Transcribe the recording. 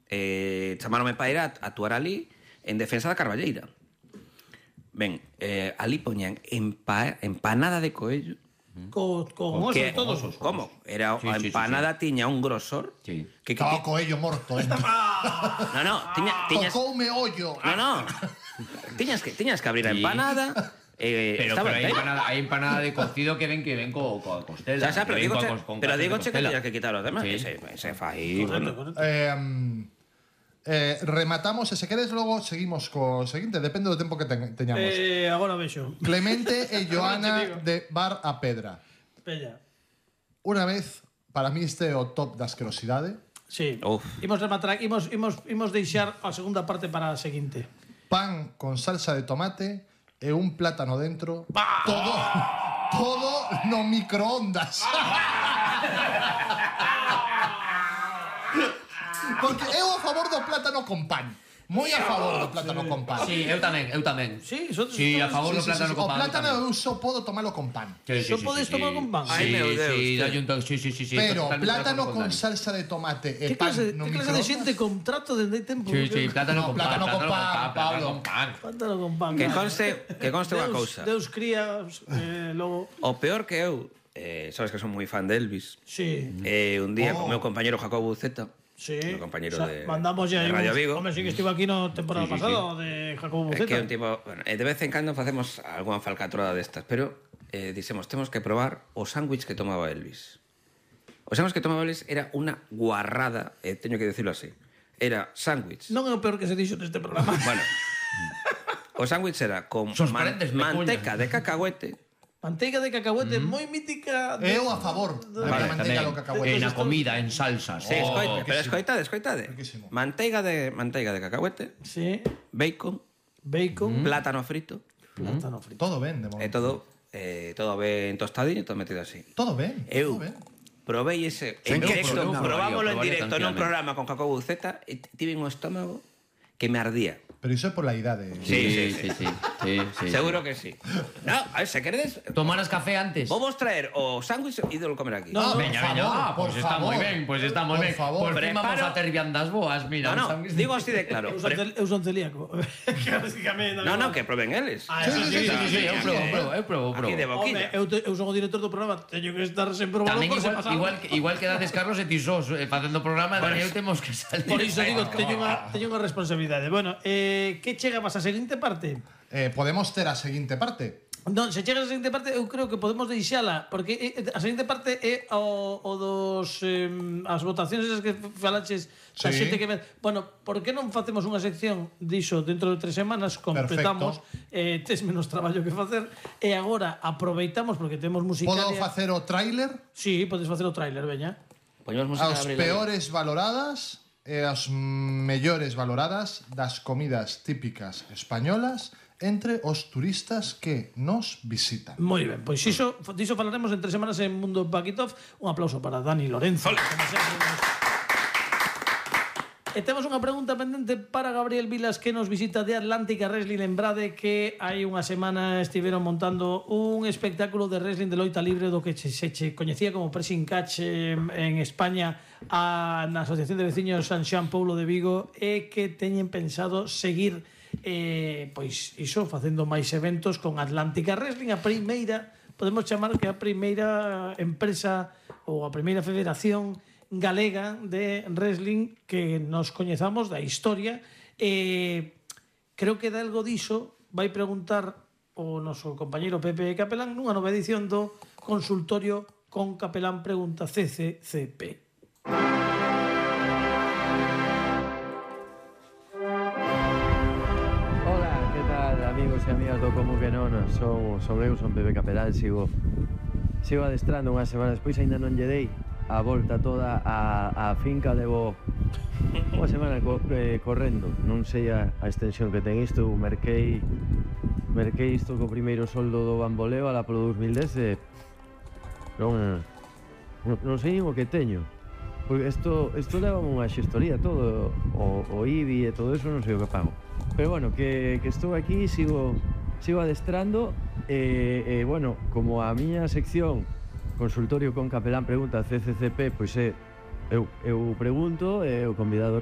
chamaronme para ir a actuar ali en defensa da Carballeira. Ben, ali poñan empanada de coello. Con osos e todo. Como? Era a empanada tiña un grosor. Sí. Estaba coello morto. No, tiñas... Tocoume ollo. No. Tiñas que abrir a empanada. Pero hai empanada de cocido que ven coa costela. Pero digo que tiñas que quitar os demás. Se fai... Rematamos, e se queres logo seguimos co seguinte, depende do tempo que teñamos. Agora vexo. Clemente e Joana de Bar a Pedra. Pella. Una vez, para mí este é o top da asquerosidade. Sí. Uf. Imos rematar, imos deixar a segunda parte para a seguinte. Pan con salsa de tomate e un plátano dentro. Todo no microondas. Porque eu a favor do plátano con pan. Moi a favor do plátano con pan. Sí, eu tamén. Sí, a favor do plátano con pan. O plátano eu só podo tomalo con pan. Só podes tomar con pan. Ai, meu Deus. Sí. Pero plátano con salsa de tomate e pan no que clase de xente con trato dende tempo? Sí, plátano con pan, Pablo. Plátano con pan. Que conste unha cousa. Deus cría, logo... O peor que eu, sabes que son moi fan de Elvis. Sí. Un día con o meu compañero Jacobo Buceta, Sí. meu compañero de Radio Radio Vigo. Home, sí que estivo aquí no temporada pasada de Jacobo Buceta. Que un tipo, bueno, de vez en cando facemos algunha falcatrada destas, pero dixemos, temos que probar o sándwich que tomaba Elvis. O sándwich que tomaba Elvis era unha guarrada, teño que decirlo así. Era sándwich. Non é o peor que se dixo neste programa. Bueno. O sándwich era con manteca de cacahuete. Manteiga de cacahuete, moi mítica. Eu a favor da manteiga do cacahuete. Na comida, en salsas. Sí, pero escoitade. Manteiga de cacahuete. Sí. Bacon. Plátano frito. Todo ben, de momento. Todo ben tostadiño, todo metido así. Todo ben. Eu probei ese en directo, probámoslo en directo nun programa con Jacobo Buceta e tive un estómago que me ardía. Pero iso é pola idade. Sí. Seguro que sí. No, a ver, se queredes... Tomaras café antes. Vos veña o sándwich e ídolo comer aquí. Veña. Pois está moi ben. Por favor. Por fin vamos a ter viandas boas, mira. No, digo así de claro. Eu son celíaco. No, que proben eles. Sí, eu probo. Aquí de boquilla. Eu son o director do programa, teño que estar sempre probando. Tamén igual que dades Carlos e Tisós facendo programa, Daniel temos que salir. Por iso digo, teño unha responsabilidade. Bueno, que chegamos a seguinte parte? Podemos ter a seguinte parte. Non, se chega a seguinte parte, eu creo que podemos deixala, porque a seguinte parte é o dos as votacións esas que falaches da xente que... Bueno, por que non facemos unha sección diso dentro de 3 semanas, completamos, tes menos traballo que facer, e agora aproveitamos, porque temos musicalia... Podo facer o tráiler? Sí, podes facer o tráiler, veña. As peores valoradas e as mellores valoradas das comidas típicas españolas entre os turistas que nos visitan. Moi ben, pois diso falaremos en 3 semanas en Mundo Paquitov. Un aplauso para Dani Lorenzo. E temos unha pregunta pendente para Gabriel Vilas, que nos visita de Atlántica Wrestling. Lembrade que hai unha semana estiveron montando un espectáculo de wrestling de loita libre do que se coñecía como Pressing Catch en España na Asociación de Veciños San Xoán Paulo de Vigo, e que teñen pensado seguir pois iso, facendo máis eventos con Atlántica Wrestling, a primeira, podemos chamar que a primeira empresa ou a primeira federación galega de wrestling que nos coñezamos da historia. Creo que de algo diso vai preguntar o noso compañeiro Pepe Capelán nunha nova edición do consultorio con Capelán Pregunta CCCP. Hola, que tal, amigos e amigas do Como que non? Son Pepe Capelán, sigo adestrando unha semana despois, aínda non lle dei a volta toda a finca, levo unha semana correndo, non sei a extensión que ten isto. Merquei isto co primeiro soldo do bamboleo alá polo 2010 e non sei nin o que teño, porque isto leva unha xestoría todo, o IBI e todo eso, non sei o que pago, pero bueno, que estou aquí, sigo adestrando e bueno, como a miña sección Consultorio con Capelán Pregunta CCCP, pois eu pregunto e o convidado